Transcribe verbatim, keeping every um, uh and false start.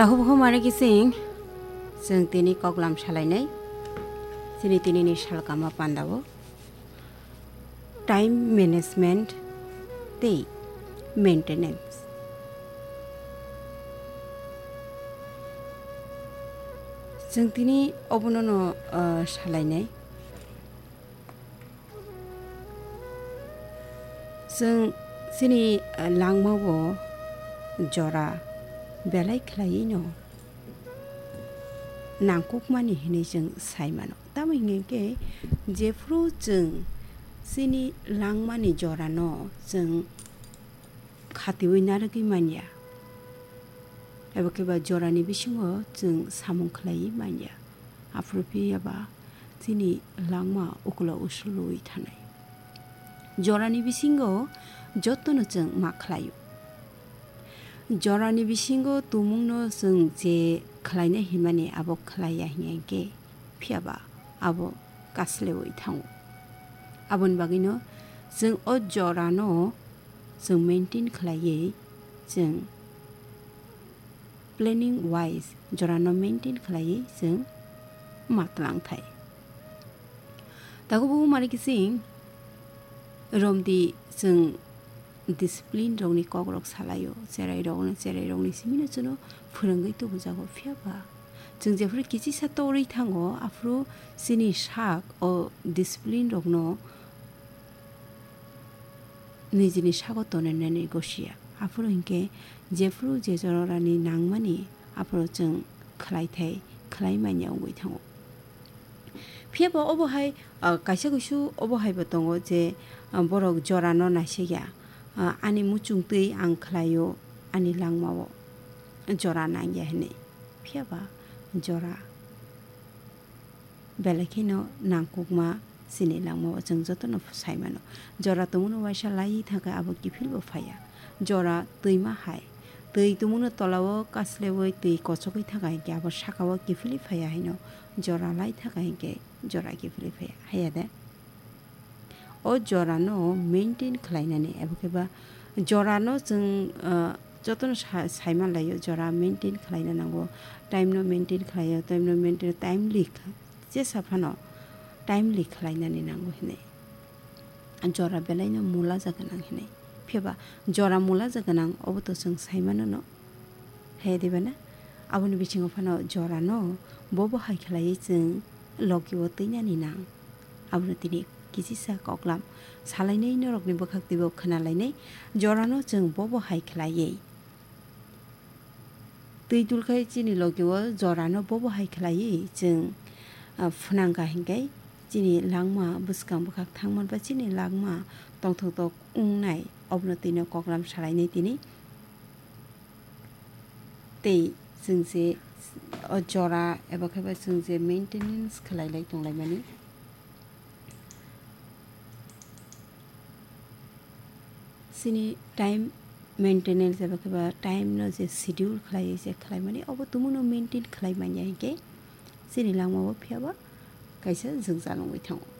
Takhuk bukhuk mare kising, chwng tini koklam salainai, chini tinini salkama pandao time management tei maintenance. Chwng tini obono no, ah, salainai. Chwng chini, ah, langmao jora belai khlaiwi no nangkukmani hinwi chwng sai mano. Tamo hinkhe jephru chwng chini langmani jorano chwng khatiwi narwgwi manya, eba khe ba jorani bisingo chwng samung khlaiwi manya. Aphuru phiya ba chini langma ukulo usulwi thanai. Jorani bisingo jotono chwng ma khlaio. Jorani bisingo tumungno chwng je khlaina himani abo khlaiya hinkhe phiya ba abo kaslewi thango. Aboni bagwino chwng o jorano chwng maintain khlaiwi chwng planning wise jorano maintain khlaiwi chwng ma twlang thai. Takhuk bukhuk mare kising romdi chwng discipline rokni kokrok salaio, cherai rokno, cherai rokni simino chwngno phwrwngwi tubujago, phiya ba chwng jephru kichisa torwi thango, aphuru chini sak o discipline rokno nijini sago tonwi nani gosia. Aphuru hinkhe jephru je jorani nangmani aphuru chwng khlai thai, khlai manya wngwi thango. Phiya ba obo hai, ah, kaisa kuisu obo hai bo tongo je, ah, borok jorano naisik ya, ah, ani muchung twi ang khlaio, ani langmao jora nangya hinwi. Phiya ba jora belai kheno nangkukma chini langmao chwng jotono sai mano. Jora tongmano waisa laiwi thangkhe abo kiphilbo phaiya. Jora twima hai. Twi tongmano tolao kaslewi twi kochogwi thangkha hinkhe abo sakao kiphilwi phaiya haino jora lai thangkha hinkhe jora kiphilwi phaiya. Haiya de? O jorano maintain khlainani ebo khe ba jorano chwng, ah, jotono sa-, sai manlaio, jora maintain khlaina nango, time no maintain khlaio, time no maintain, timely kha-, jesa phano timely khlainani nango hinwi. Jora belaino mulaja gwnang hinwi. Phiya ba jora mulaja gwnang obo to chwng sai mano no. He diba na? Aboni bisingo phano jorano bobo hai khlaiwi chwng logi-o twinani nang. Abono tini kichisa koklam salainai norokni bwkhak twibo khwnalainai jorano chwng bobo hai khlaiwi. Twi tulkhai chini logi-o jorano bobo hai khlaiwi chwng, ah, phwnangkha hinkhe chini langma bwskang bwkhak thangman ba chini langma tongthok tok wngnai obono twino koklam salainai tini. Tei chwng je o jora eba khe ba chwng je maintenance khlai lai tong laimani. Chini time maintenance eba khe ba time no je schedule khlai se khlai mani obo tumuno maintain khlai manya hinkhe chini langma o phiya ba kaisa jwngjal wngwi thango.